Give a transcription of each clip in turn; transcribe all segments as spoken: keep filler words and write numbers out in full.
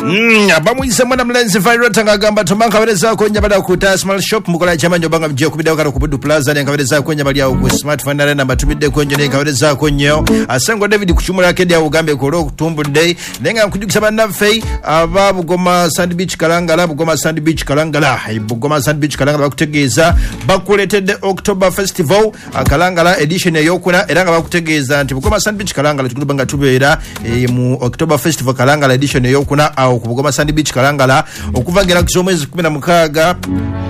Mm, abamuyise mwana mulenzi Virota ng'agamba tomankawerezaako nnyo abali awo ku Tasmal Shop mukola kyamanyi obanga mujja kubiddawo kano ku Buddu Plaza nenkawerezaako nnyo abali awo ku Smartphone Arena mbatumiddeko nnyo nenkawerezaako nnyo Asengo David ku Kimuli Arcade awo ugambe ku olw'okutumbudde naye nga nkujjukisa bannaffe aba Bugoma Sand Beach Kalangala Bugoma Sand Beach Kalangala Bugoma Sand Beach Kalangala bakutegeeza bakuleetedde October Festival Kalangala edition eyokuna era nga bakutegeeza nti Bugoma Sand Beach Kalangala tuguluba nga tubeera eh, mu October Festival Kalangala edition eyokuna awo ku Bugoma Sand Beach Kalangala okuva ngera ku z'omwezi kumi na mukaaga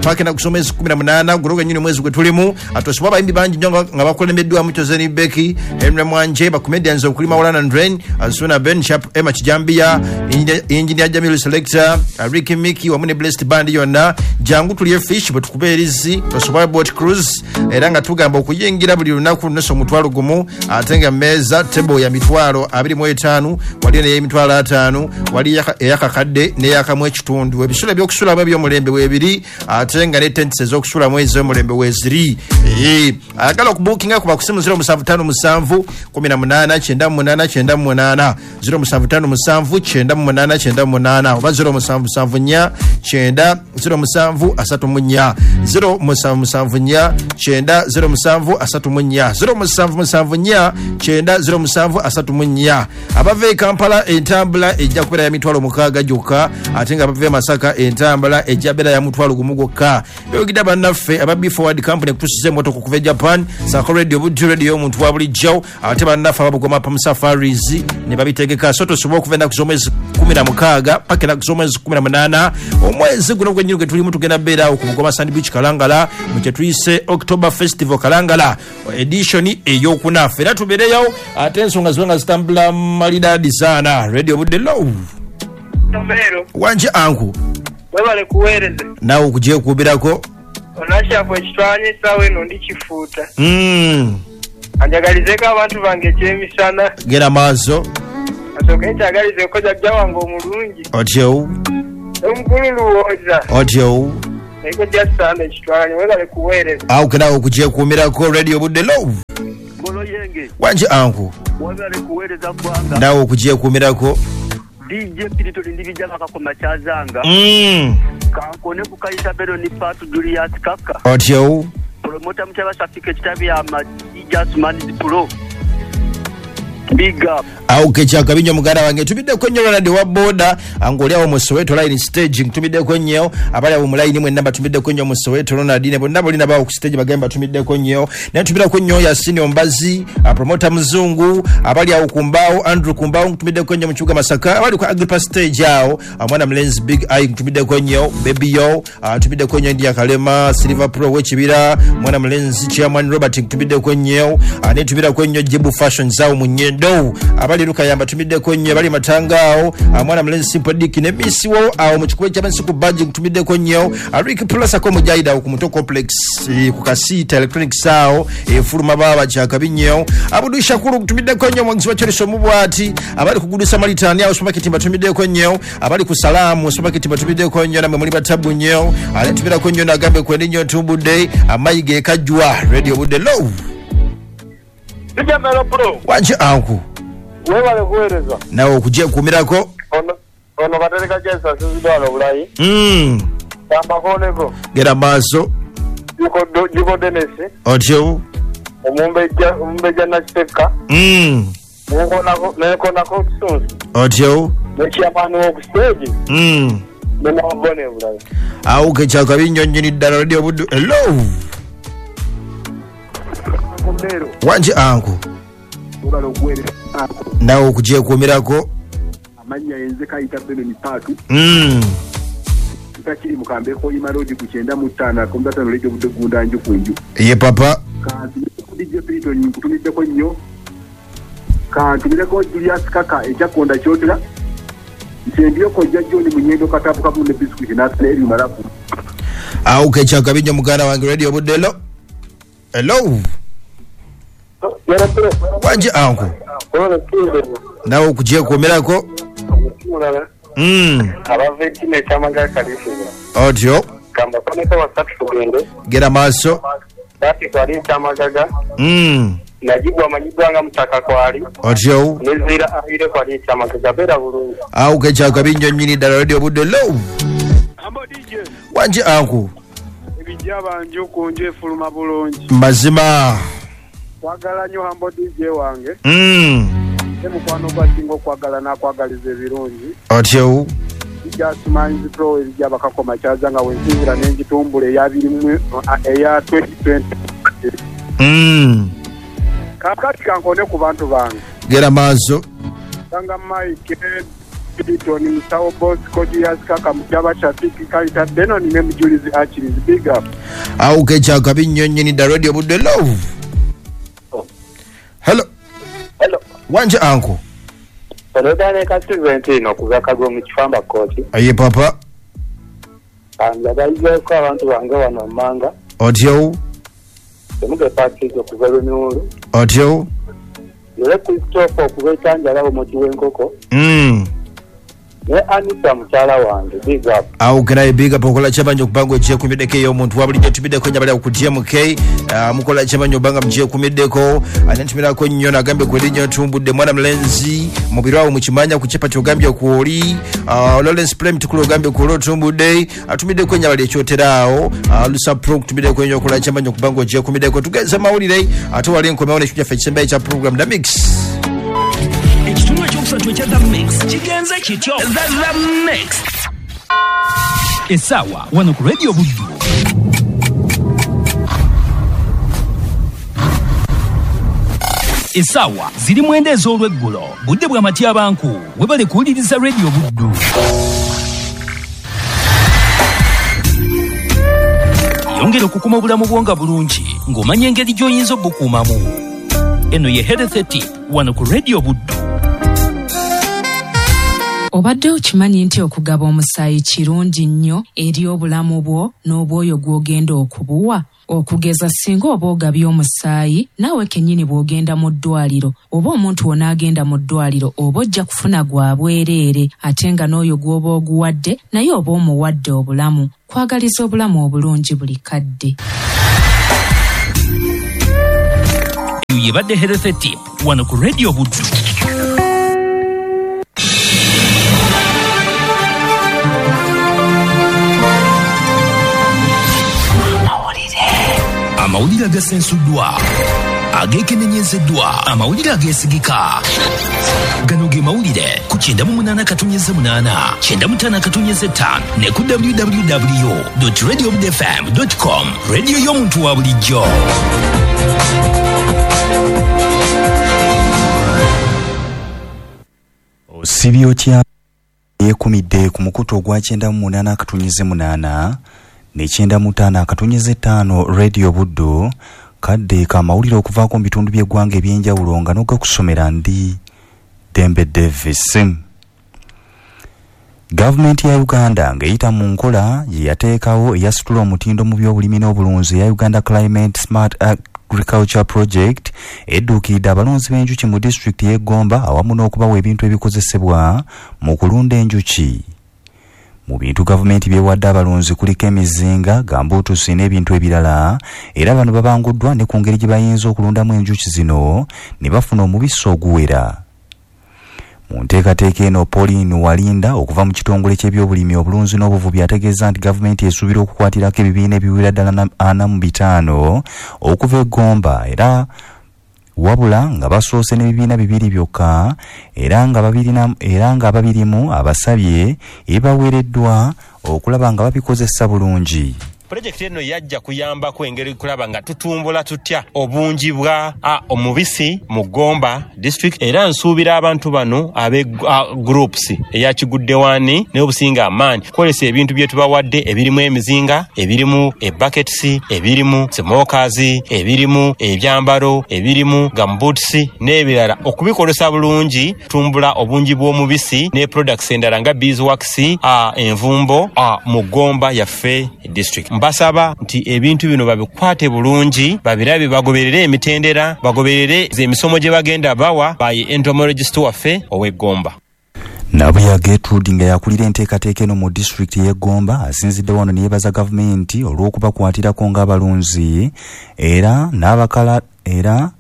paka na ku z'omwezi kumi na munaana guloga nnyini omwezi gwe tulimu atosibwa abayimbi bangi nnyo nga nga bakulembeddwamu Tozeni Becky Henry Mwanje ba comedians okuli Maulana Ndren Asuna Ben Sharp Emma Kijambiya Engineer Jamilu Selector Ricky Mickey wamu ne Blessed Band yonna jangu tulye fish bwe tukube erizi tosobola boat cruise era nga tugamba okuyingira buli lunaku nusu omutwalo gumu ate nga mmeeza table ya mitwalo abiri mu etaano waliyo n'eyemitwalo ataano waliyo eyakakadde n'eyakamu ekitundu ebisulo ebyokusulamu eby'omulembe weebiri ate nga ne tents ez'okusulamu ez'omulembe weeziri. Eh, ayagala okubuukinga kuba ku simu zero musanvu ttaano musanvu kumi na munaana kyenda mu munaana kyenda mu munaana zero musanvu ttaano musanvu kyenda mu munaana kyenda mu munaana oba zero musanvu musanvu nnya kyenda zero musanvu asatu mu nnya zero musanvu musanvu nnya kyenda zero musanvu asatu mu nnya zero musanvu musanvu nnya kyenda zero musanvu asatu mu nnya. Abava e Kampala entambula ejja kubeera ya mitwalo mukaaga gyokka ate nga abava e Masaka entambula ejja beera ya mutwalo gumu gwokka. Byogedde bannaffe aba Be Forward Company kutusiza emmotoka okuva e Japan Sako Radio Buddu Radio omuntu wa bulijjo ate bannaffe aba Bugoma Palm Safaris ne babitegeka so tosobola okuva ennaku z'omwezi kumi na mukaaga paka ennaku z'omwezi kumi na munaana omwezi guno gwennyini gwe tulimu tugenda beera awo ku Bugoma Sand Beach Kalangala mu kye tuyise October Festival Kalangala edition eyokuna ffe era tubeereyo ate ensonga zibe nga zitambula malidaadi saana. Radio Budde low Tomero wanje anku webale kuweereza naawe okugyekuubirako onashafu ekitwanya essaawa eno ndi kifuuta mm. anjagalizeeko abantu bange ekyemisana gera maaso asooke nkyagalizeeko jjajja wange omulungi otyo omukulu Luwooza otyo naye kojja saana ekitwanya webale kuweereza awo kenaawe okugyekuumirako. Radio Budde low Ngolo yenge wanje anku webale kuweereza ggwanga naawe okugyekuumirako D J Pirito ndibijja kakakoma kyazanga mm. kankone ku Kayita Beroni Patu Julius Kaka otyo promota mukyaba Safika ekitabi ya Jasmine Pro big up awo kekyakabi nnyo muganda wange tumiddeko nnyo Ronald wa boda ng'oli awo mu Soweto line staging tumiddeko nnyo abali awo mu line mwenna batumiddeko nnyo mu Soweto Ronald ne bonna bolina bawo ku stage bagambe batumiddeko nnyo naye tumirako nnyo Yasini Ombazi promota Mzungu abali awo ku mbaawo Andrew ku mbaawo tumiddeko nnyo mu kibuga Masaka abali ku Agrippa stage awo omwana mulenzi Big Eye tumiddeko nnyo Baby Yo tumiddeko nnyo India Kalema Silver Pro w'ekibira mwana mulenzi Chairman Robert tumiddeko nnyo ne tumirako nnyo Jebu Fashion awo mu Nyendo abali Lukayamba tumiddeko nnyo abali Matanga awo mwana mulenzi Simple Dick ne Miss wo awo mu kikubo ky'abansi ku badge tumiddeko nnyo Rick Plus ako mujayida ku Muto Complex ku Kasita Electronics awo efuluma baba kyakabi nnyo Abudu Shakuru tumiddeko nnyo mwangizi wa Cheriso Mubwati abali kugudusa Malitani awo supermarket batumiddeko nnyo abali ku Salamu supermarket batumiddeko nnyo namwe muli batabu nnyo ale tumirako nnyo nagambe kwendi nnyo tumbudde amayiga ekajwa. Radio Budde low Bijamelo bro wanje anku webale kuweereza nawe okugyekuumirako ono ono batereka jesa sizidwala obulayi mm. amakoneko gera maaso Juko Juko Dennis otyo omumbejja omumbejja Nakiteka mm. nenkonako nenkonako kisunsu otyo nekyamaani woku stage mm. nenabone obulayi awo kekyakabi nnyo nnyini ddala. Radio Buddu hello wanje anku webale okuweereza nawe okugyekuumirako amannya yenze Kayita Beroni Patu mm. takiri mukambe ko Road ku kyenda mu ttaano akomutatano Radio Budde gunda nju ku nju ye papa kanti D J Pirito nkutumiddeko nnyo kantumireko Julius Kaka ekyakonda kyotera nsendyoko jja John Munyendo katabu kabu ne biscuit n'asala ebimalaku awo kekyakabi nnyo muganda wange. Radio Budde hello hello wanje anku nawe okugyekuumirako mm. abava ekina ekyamagala kaliisiza otyo kambakoneko basatu tugende gera maaso bati kwali ekyamagaga mm. Najibu amanyiddwa nga Mutaka kwali. Otyo. Nezira ahire kwali ekyamagezi abeera bulungi. Awo kekyakabi nnyo nnyini ddala. Radio Buddu, hello. Ambo D J. Wanje anku. Ebijja banju ku nju efuluma bulungi. Mazima. Kwagala nnyo Hambo D J wange. Mm. Mukwano gwasinga okwagala n'akwagaliza ebirungi. Otyo. Bijja Pro ebijja bakakoma kyaza nga wensinzira n'engitumbula eya biri mu eya twenty twenty. Mm. Kakati kankone ku bantu bange. Gera maaso. Sanga Mike Piton Musawo Bosco Julius Kaka Mujaba Shafiki Kalita Benon ne Mujulizi Achilles big up. Awo kekyakabi nnyo nnyini ddala. Radio Buddu, hello. Hello. Hello. Wanje anko. Olodane ka Silventino kuva Kagwo mu Kifamba Kooti. Aye papa. Anjagalizeeko abantu bange wano mmanga. Otyo. Emuge Patrick okuva Lunyulu. Otyo. Yole Christopher okuva Etanjala omuti w'enkoko. Mm. Ne Anita mukyala wange big up. Awo kera big up okola kyamanyi okubanga okyekumiddeko ey'omuntu wa bulijjo tumiddeko nnyo abali ku T M K. Uh, mukola kyamanyi obanga mukyekumiddeko. Anentumirako nnyo nagambye kweri nnyo tumbudde mwana mulenzi mu biro awo mukimanya ku kyapa kyogambye kwoli. Uh, Lawrence Prem tukulu ogambye kwoli otumbudde. Atumiddeko nnyo abali ekyotera awo. Uh, Lusa Pro tumiddeko nnyo okola kyamanyi okubanga okyekumiddeko. Tugeze mawulire ate wali nkomewo n'ekyo kyaffe ekisembayo ekya program The Mix. Ekitundu ekyokusatu ekya The Mix kigenze kityo. The, The Mix essaawa wano ku Radio Buddu. Essaawa ziri mwenda ez'olweggulo, budde bwa matyabanku. Webale kuwuliriza Radio Buddu. Yongera okukuma obulamu bwo nga bulungi ng'omanya engeri gy'oyinza obukuumamu. Eno ye Health Tip wano ku Radio Buddu. Obadde okimanyi nti okugaba omusaayi kirungi nnyo eri obulamu bwo n'obwoyo gw'ogenda okubuwa? Okugeza singa oba ogabye omusaayi, naawe kennyini bw'ogenda mu ddwaliro oba omuntu w'onaagenda mu ddwaliro oba ojja kufuna gwa bwereere, ate nga n'oyo gw'oba oguwadde naye oba omuwadde obulamu. Kwagaliza obulamu obulungi buli kadde. Eyo yebadde Health Tip wano ku Radio Buddu. Amawulire agasensuddwa, ageekenenyezeddwa, amawulire ageesigika. Gano ge mawulire ku kyenda mu munaana katonnyeze munaana, kyenda mu ttaano katonnyeze ttaano ne ku w w w dot radio buddu f m dot com. Radio y'omuntu wa bulijjo. Osibye otya yeekumidde ku mukutu ogwa kyenda mu munaana akatonnyeze munaana ne kyenda mu ttaano akatonnyeze ttaano Radio Buddu, kadde kamawulire okuvaako mu bitundu by'eggwanga eby'enjawulo nga n'ogakusomera ndi Dembe Davis. Gavumenti ya Uganda ng'eyita mu nkola gye yateekawo eyasitula omutindo mu by'obulimi n'obulunzi eya Uganda Climate Smart Agriculture Project edduukiridde abalunzi b'enjuki mu disitulikiti y'e Gomba awamu n'okubawa ebintu ebikozesebwa mu kulunda enjuki. Mu bintu gavumenti byewadde abalunzi kuliko emizinga, gambuutusi n'ebintu ebirala, era bano babanguddwa ne ku ngeri gye bayinza okulundamu enjuki zino ne bafuna omubisi oguwera. Mu nteekateeka eno, Pauline Walinda okuva mu kitongole ky'ebyobulimi, obulunzi n'obuvubi ategeeza nti gavumenti esuubira okukwatirako ebibiina ebiwera ddala ana mu bitaano okuva e Gomba, era wabula nga basoose n'ebibiina bibiri byokka, era nga babirina era nga babirimu abasabye ebaweereddwa okulaba nga babikozesa bulungi. Pulojekiti eno yajja kuyambako engeri kulaba nga tutumbula tutya obungi bwa omubisi mu Gomba district, era nsuubira abantu bano abe groups eya Kigudde wani n'obusinga amaanyi kukozesa ebintu bye tubawadde ebirimu emizinga, ebirimu ebuckets, ebirimu smokers, ebirimu ebyambalo, ebirimu gumboots n'ebirala, okubikozesa bulungi tumbula obungi bw'omubisi ne products endala nga beeswax, envumbo mu Gomba yaffe district. Mbasaba nti ebintu bino babikwate bulungi, babirabe, bagoberere emitendera, bagoberere emisomo gye bagenda bawa by entomologist waffe ow'e Gomba. Nabuya Gertrude nga yakulira enteekateeka eno mu disitulikiti y'e Gomba asinzidde wano ne yeebaza gavumenti olw'okubakwatirako ng'abalunzi era n'abakala era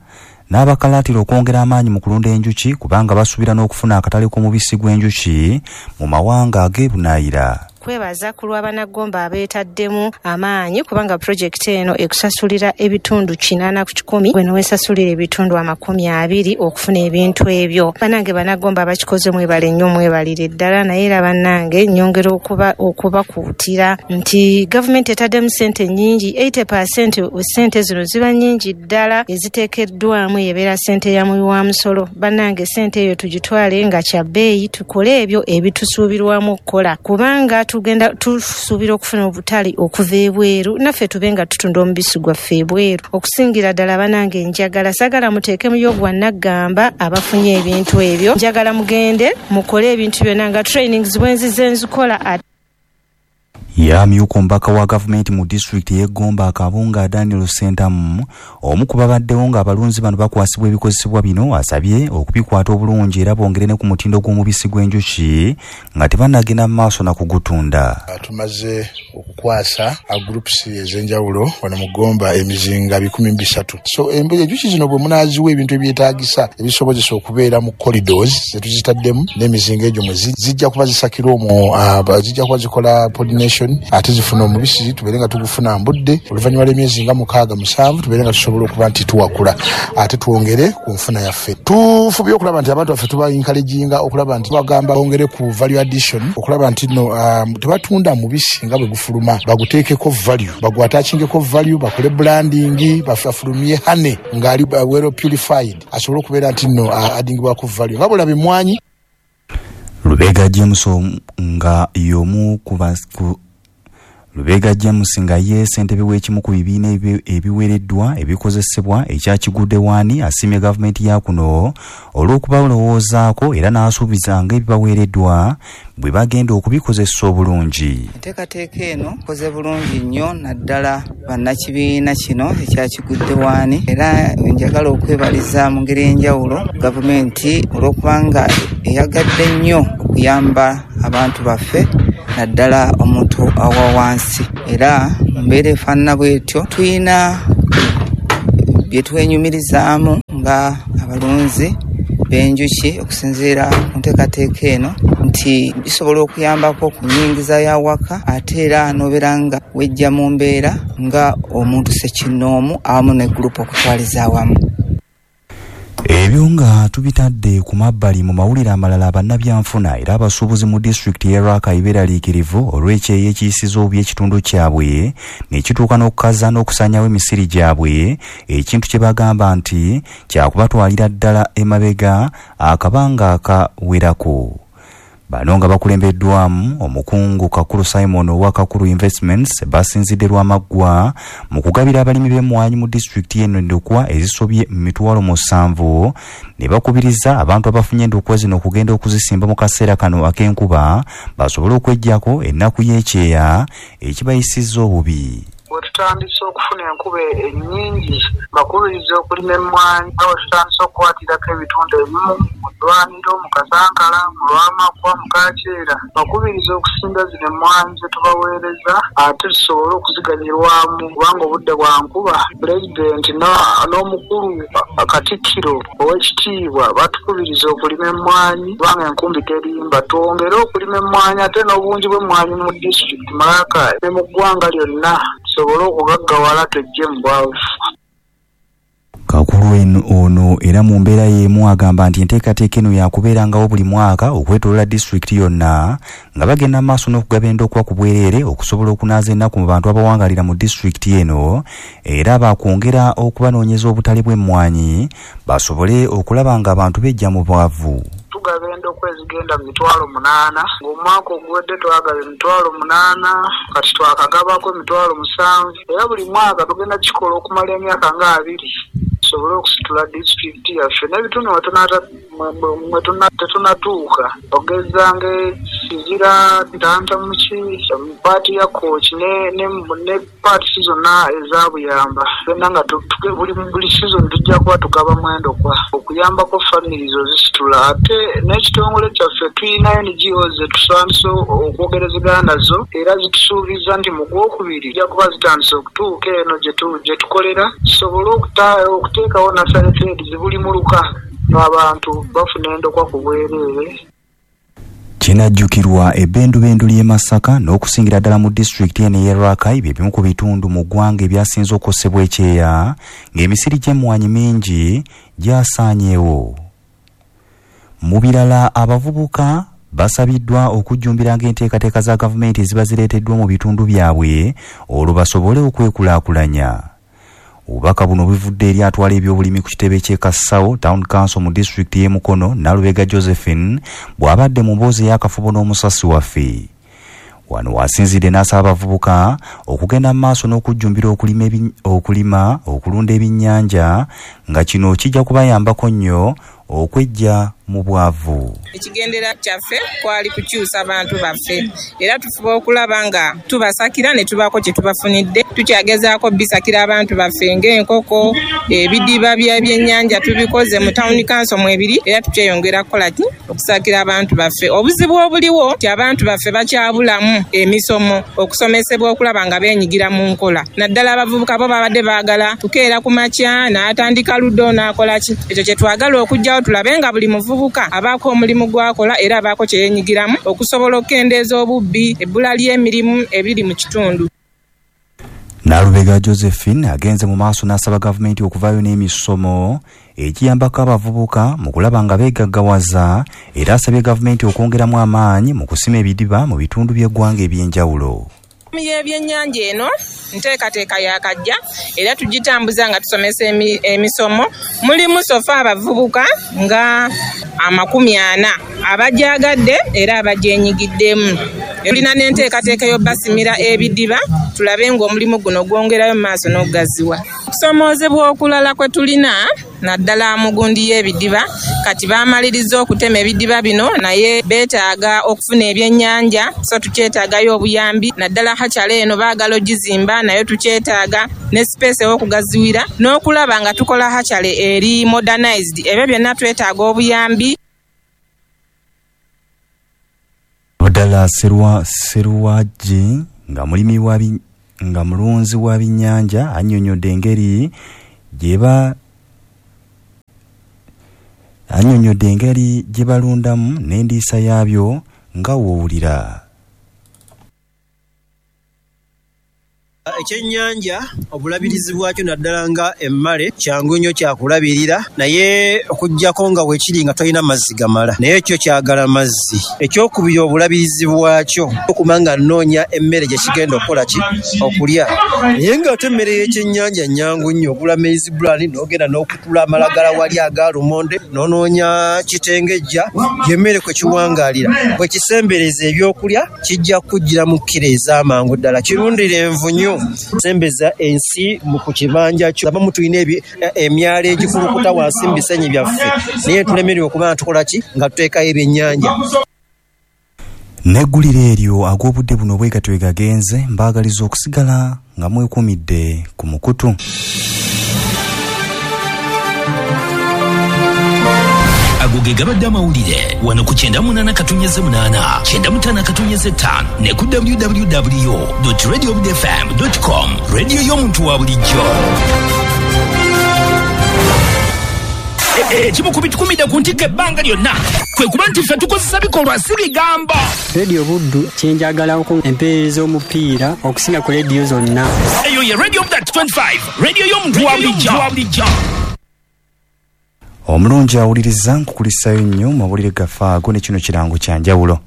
n'abakalaatira okwongera amaanyi mu kulunda enjuki kubanga basuubira n'okufuna akatale k'omubisi gw'enjuki mu mawanga ag'ebunaayira. Kwebaza ku lw'abanaggomba abeetaddemu amaanyi kubanga pulojekiti eno ekusasulira ebitundu kinaana ku kikumi, gwe neweesasulira ebitundu amakumi abiri okufuna ebintu ebyo. Bannange banaggomba abakikoze mwebale nnyo, mwebalire ddala. Naye era bannange nnyongera okuba okubakuutira nti gavumenti etaddemu ssente nnyingi, eighty percent ssente zino ziba nnyingi ddala eziteekeddwamu ebeera ssente ya muwi wa musolo. Bannange ssente eyo tugitwale nga kya bbeeyi, tukole ebyo ebitusuubirwamu okukola kubanga tugenda tusuubira okufuna obutale okuva ebweru, naffe tube nga tutunda omubisi gwaffe ebweru. Okusingira ddala bannange njagala saagala muteekemuyo gwa naggamba abafunye ebintu ebyo, njagala mugende mukole ebintu byonna nga trainings bwe nzize nzikola. Yamyuka omubaka wa gavumenti mu disitulikiti y'e Gomba Akabunga Daniel Ssentamu, omu ku babaddewo ng'abalunzi bano bakwasibwa ebikozesebwa bino, asabye okubikwata obulungi era bongere ne ku mutindo gw'omubisi gw'enjuki nga tebannagenda mu maaso na kugutunda. Tumaze okukwasa groups ez'enjawulo wano mu Gomba emizinga bikumi bisatu. So enjuki zino bwe munaaziwa ebintu ebyetaagisa ebisobozesa okubeera mu corridors ze tuzitaddemu n'emizinga egyo mwe zijja kuba zisakira omwo, zijja kuba zikola pollination ate zifuna omubisi tubeere nga tugufuna mbudde. Oluvannyuma lw'emyezi nga mukaaga musanvu tubeere nga tusobola okuba nti tuwakula ate twongere ku nfuna yaffe. Tufubye okulaba nti abantu baffe tuba encouraginga okulaba nti bagamba bongere ku value addition, okulaba nti no um, tebatunda mubisi nga bwe gufuluma, baguteekeko value, bagwatachingeko value, bakole branding, bafulumye honey ng'ali well purified asobole okubeera nti no uh, addingibwako value nga bulaba emmwanyi. Lubega James nga y'omu ku Lubega James nga ye ssentebe w'ekimu ku bibiina ebiweereddwa ebikozesebwa ekya Kigudde Waani asiimye gavumenti ya kuno olw'okubalowoozaako era n'asuubiza ng'ebibaweereddwa bwe bagenda okubikozesa obulungi. Enteekateeka eno ekoze bulungi nnyo naddala bannakibiina kino ekya Kigudde Waani, era njagala okwebaliza mu ngeri ey'enjawulo gavumenti olw'okubanga eyagadde nnyo okuyamba abantu baffe naddala omuntu awa wansi. Era mu mbeera efaanana bw'etyo tulina bye twenyumirizaamu nga abalunzi b'enjuki okusinziira ku nteekateeka eno nti bisobola okuyambako ku nnyingiza y'awaka ate era n'obeera nga wejja mu mbeera nga omuntu ssekinnoomu awamu ne gurupu okutwaliza awamu. Ebyo nga tubitadde ku mabbali, mu mawulire amalala, bannabyanfuna era abasuubuzi mu disitulikiti y'e Rakai beeraliikirivu olw'ekyeya ekiyisiza obubi ekitundu kyabwe ne kituuka n'okukaza n'okusaanyaawo emisiri gyabwe, ekintu kye bagamba nti kyakubatwalira ddala emabega akabanga akawerako. Bano nga bakulembeddwamu omukungu Kakuru Simon owa Kakuru Investments basinzidde Lwamaggwa mu kugabira abalimi b'emmwanyi mu disitulikiti eno endokwa ezisobye mu mitwalo musanvu ne bakubiriza abantu abafunye endokwa zino okugenda okuzisimba mu kaseera kano ak'enkuba basobole okweggyako ennaku y'ekyeya ekibayisizza obubi. Bwe tutandise okufuna enkuba ennyingi bakubiriza okulima emmwanyi, nga bwe tutandise okukwatirako ebitundu ebimu mu ddwaniro, mu Kasankala, mu Lwamakwa, mu Kaakyera, bakubiriza okusimba zino emmwanyi ze tubaweereza ate tusobole okuziganyirwamu kubanga obudde bwa nkuba. Pulezidenti n'omukulu Katikkiro ow'ekitiibwa batukubiriza okulima emmwanyi kubanga enkumbi terimba. Twongere okulima emmwanyi ate n'obungi bw'emmwanyi mu disitulikiti Malaka ne mu ggwanga lyonna tusobole okugaggawala twejje mu bwavu. Kakuru ono era mu mbeera y'emu agamba nti enteekateeka eno yakubeerangawo buli mwaka okwetooloola disitulikiti yonna nga bagenda maaso n'okugaba endokwa ku bwereere okusobola okunaaza ennaku mu bantu abawangalira mu disitulikiti eno, era bakwongera okubanoonyeza obutale bw'emmwanyi basobole okulaba nga abantu bejja mu bwavu. Tugaba endokwa ezigenda mu mitwalo munaana, ng'omwaka oguwedde twagaba emitwalo munaana, kati twakagabako emitwalo musanvu, era buli mwaka tugenda kikola okumala emyaka nga abiri tusobole okusitula disitulikiti yaffe n'ebitundu mwe tetunatuuka, ogeza nga Luzira, Ntantamuki, paati ya Kooki ne ne ne paati zonna ezabuyamba byonna nga buli buli season tujja kuba tugaba mwendo kwa okuyambako families ozisitula. Ate n'ekitongole kyaffe tulina N G Os zetusandise okwogerezegana nazo era zitusuubiza nti mu gwokubiri zijja kuba zitandise okutuuka eno gye tukolera tusobole okuteekawo nasale trades buli muluka ng'abantu bafuna endokwa ku bwereere. Kinajjukirwa ebbendubendu ly'e Masaka n'okusingira ddala mu disitulikiti eno ey'e Rakai bye bimu ku bitundu mu ggwanga ebyasinze okukosebwa ekyeya ng'emisiri gy'emmwanyi mingi gyasaanyeewo. Mu birala, abavubuka basabiddwa okujjumbiranga enteekateeka za gavumenti eziba zireeteddwa mu bitundu byabwe olwo basobole okwekulaakulanya. Obubaka buno buvudde eri atwala ebyobulimi ku kitebe ky'e Kasawo Town Council mu disitulikiti y'e Mukono, Nalubega Josephine, bw'abadde mu mboozi ey'akafubo n'omusasi waffe. Wano wasinzidde n'asaba abavubuka okugenda mu maaso n'okujjumbira okulima, okulima okulunda ebyennyanja nga kino kijja kubayambako nnyo okweggya mu bwavu. Ekigendera kyaffe kwali kukyusa abantu baffe era tufuba okulaba nga tubasakira ne tubaako kye tubafunidde. Tukyagezaako bisakira abantu baffe ng'enkoko, ebidiba by'ebyennyanja tubikoze mu town council mwebiri era tukyeyongera kukola ki okusakira abantu baffe. Obuzibu obuliwo nti abantu baffe bakyabulamu emisomo okusomesebwa okulaba nga beenyigira mu nkola, naddala abavubuka bo babadde baagala tukeera ku makya n'atandika ludo n'akola ki. Ekyo kye twagala okujjawo tulabe nga buli muvubuka abaako omulimu gw'akola era abaako kye yeenyigiramu okusobola okukendeeza obubbi, ebbula ly'emirimu ebiri mu kitundu. Nalubega Josephine agenze mu maaso n'asaba gavumenti okuvaayo n'emisomo ekiyambako abavubuka mu kulaba nga beegaggawaza era asabye gavumenti okwongeramu amaanyi mu kusima ebidiba mu bitundu by'eggwanga eby'enjawulo. Y'ebyennyanja eno nteekateeka yakajja era tugitambuza nga tusomesa emisomo. Mulimu sofa abavubuka nga amakumi ana abagyagadde era abagyenyigiddemu. Tulina n'enteekateeka y'obbasimira ebidiba tulabe ng'omulimu guno gwongerayo mu maaso n'okugaziwa. Okusomoozebwa okulala kwe tulina naddala mu gundi y'ebidiba, kati baamaliriza okutema ebidiba bino naye beetaaga okufuna ebyennyanja, so tukyetaagayo obuyambi naddala hakyala eno baagala ogizimba naye tukyetaaga ne sipeesi ew'okugaziwira n'okulaba nga tukola hakyale eri modernized. Ebyo byonna twetaaga obuyambi. Abdallah Serwa Serwaji nga mulimi wa nga mulunzi wa binnyanja annyonnyodde engeri gyeba annyonnyodde engeri gye balundamu n'endiisa yaabyo nga w'owulira. Ekyennyanja obulabirizi bwakyo naddala nga emmale kyangu nnyo kyakulabirira, naye okuggyako nga weekiri nga tolina mazzi gamala, naye ekyo kyagala mazzi. Ekyokubiri obulabirizi bwakyo okuma nga nnoonya emmere gye kigenda okukola ki okulya, naye ng'ate emmere y'ekyennyanja nnyangu nnyo. Ogula maize bran n'ogenda n'okutula amalagala wali aga lumonde n'onoonya kitengejja, y'emmere kwe kiwangaalira. Bwe kisembereza ebyokulya kijja kujjira mu kkiro ez'amangu ddala. Kirundira envunyu, sembeza ensi mu ku kibanja kyo. Abamu tulina emyalo egikulukuta wansi mu bisenyi byaffe, naye tulemererwa okuba nga tukola ki nga tuteekayo ebyennyanja. N'eggulire eryo ag'obudde buno bwe gatyo gagenze, mbaagaliza okusigala nga mwekuumidde ku mukutu. Ago ge gabadde amawulire wano ku kyenda munaana katunyeze munaana kyenda mutaano katunyeze ttaano ne ku w w w dot radio f m dot com. Radio y'omuntu wa bulijjo. Ekimu ku bitukumidde ku ntikko ebbanga lyonna kwe kuba nti ffe tukozesa bikolwa si bigambo. Radio Buddu kyenjagalako empeereza omupiira okusinga ku rediyo zonna. Eyo ye Radio twenty-five, radio y'omuntu wa bulijjo. Omulungi awuliriza nkukulisayo nnyo mu mawulire gaffe ago ne kino kirango kya njawulo.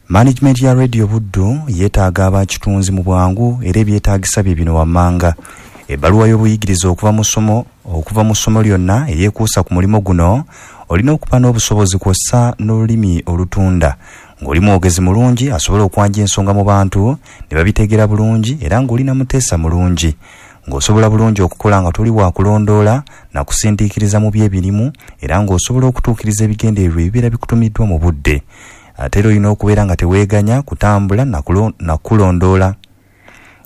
Management ya Radio Buddu yeetaaga abakitunzi mu bwangu era ebyetaagisa bye bino wammanga. Ebbaluwa y'obuyigirize okuva mu ssomo okuva mu ssomo lyonna eyeekuusa ku mulimu guno olina okuba n'obusobozi kw'ossa n'olulimi olutunda, ng'oli mwogezi mulungi asobola okwanja ensonga mu bantu ne babitegeera bulungi era ng'olina muteesa mulungi, ng'osobola bulungi okukola nga toli wa kulondoola na kusindiikiriza mu by'ebirimu era ng'osobola okutuukiriza ebigendererwa ebibeera bikutumiddwa mu budde. Ate era olina okubeera nga teweeganya kutambula nakulondoola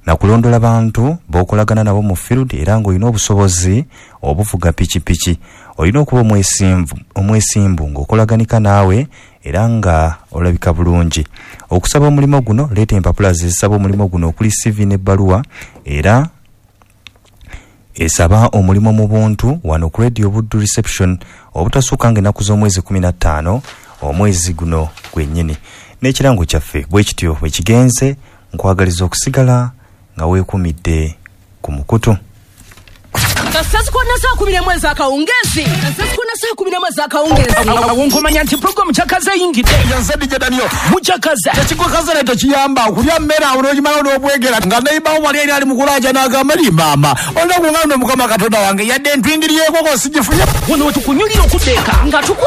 nakulondola bantu b'okolagana nabo mu field, era ng'olina obusobozi obuvuga pikipiki. Olina okuba omwesimbu ng'okolaganika naawe era nga olabika bulungi. Okusaba omulimu guno, leeta empapula zisaba omulimu guno okuli C V n'ebbaluwa era esaba omulimu mu buntu wano ku Radio Buddu Reception obutasukka ng'ennaku z'omwezi kumi na ttaano omwezi guno gwennyini. N'ekirango kyaffe bwe kityo bwe kigenze. Nkwagaliza okusigala nga weekumidde ku mukutu. Kasasukona saa kumi n'emu ez'akawungeezi. Kasasukona saa kumi n'emu ez'akawungeezi. Awo nkomanya nti pulogulaamu kyakaze eyingidde. Mukyakaze. Tekikukaze naye tekiyamba okulya mmere awo n'ogimala n'obwegera nga neibawo wali eri ali mu kulaaja n'agamba li maama olina kungamba Mukama Katonda wange yadde entwindiryeko sigifunye. Wano we tukunyulira okudda eka nga tukwa